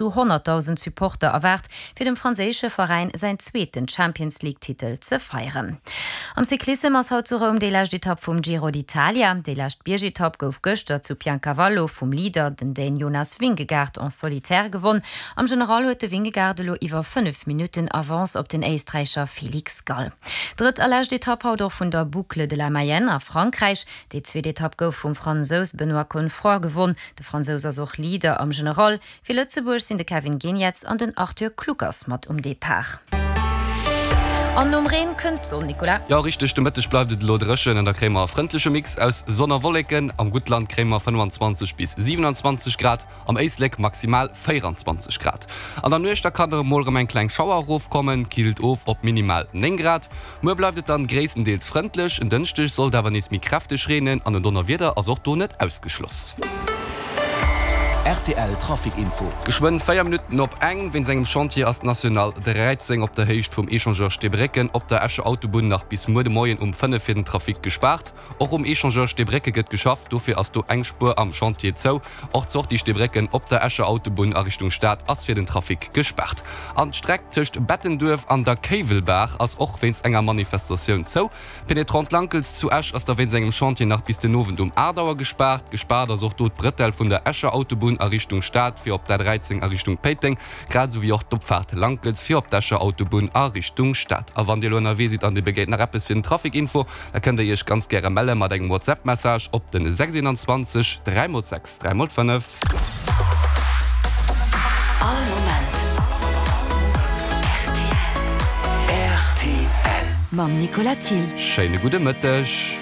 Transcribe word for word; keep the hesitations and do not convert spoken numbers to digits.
zu honnertdausend Supporter erwaart, fir dem franséische Veräin säin zweeten Champions-League-Titel ze feieren. Am Cyclissem ass haut zu Roum déi lescht Etapp vum Giro d'Italia. Déi lescht Biergetapp gouf gëschter zu Piancavallo vum Leader, den Dän Jonas Vingegaard, en solitaire gewonn. Am General huet de Vingegaard elo iwwer fënnef Minutten Avance op den Éisträicher Felix Gall. Drëtt a lescht Etapp haut och vun der Boucle de la Mayenne a Frankräich. Déi zweet Etapp gouf vum Fransous Benoît Cosnefroy gewonn. De Fransous ass och Leader am General. Fir Lëtzebuerg sinn de Kevin Geniets an den Arthur Kluckers mat um Depart. An nom Reen kënnt d'Sonn, Nicolas. Jo, richteg, de Mëtteg bleift et elo dréchen an da kréie mer e frëndleche Mix aus Sonn a Wolleken. Am Guttland kréie mer fënnwanzwanzeg bis siwenanzwanzeg Grad, am Éislek maximal véieranzwanzeg Grad. An der Nuecht da kann der emol erëm eng kleng Schauer erofkommen, killt of op minimal néng Grad. Muer bleift et dann gréisstendeels frëndlech, en Dënschdeg sollt awer nees méi kräfteg reenen an en Donnerwieder ass och do net ausgeschloss. Rtl Trafic Info. Geschwënn véier Minutten op eng. Wéinst engem Chantier ass d'National dräizéng op der Héicht vum Echangeur Steebrécken op der Escher Autobunn nach bis muer de Moien um fënnef fir den Trafic gespaart. Och um Echangeur Steebrécke gëtt geschafft, dofir ass do eng Spuer am Chantier zou. Och d'Sortie Steebrécken op der Escher Autobunn a Richtung Stad ass fir den Trafic gespaart. An d'Streck tëscht Bettenduerf an der Kéiwelbaach ass och wéinst enger Manifestatioun zou. D'Pénétrante Lankels zu Esch ass da wéinst engem Chantier nach bis den Owend um aacht Auer gespaart. Gespaart ass och do d'Brëtell vun der Escher Autobunn a Richtung Stad fir op d'A dräizéng a Richtung Péiteng, grad esou wéi och d'Opfaart Lankels fir op d'Escher Autobunn a Richtung Stad. A wann Dir elo ënnerwee sidd an Dir begéint nach eppes fir den Trafic Info, da kënnt Dir Iech ganz gäre melle mat engem WhatsApp Message op den sechs eenanzwanzeg dräi mol sechs dräi mol fënnef. All Moment rtl. Mam Nicolas Thill. Schéine gudde Mëtteg.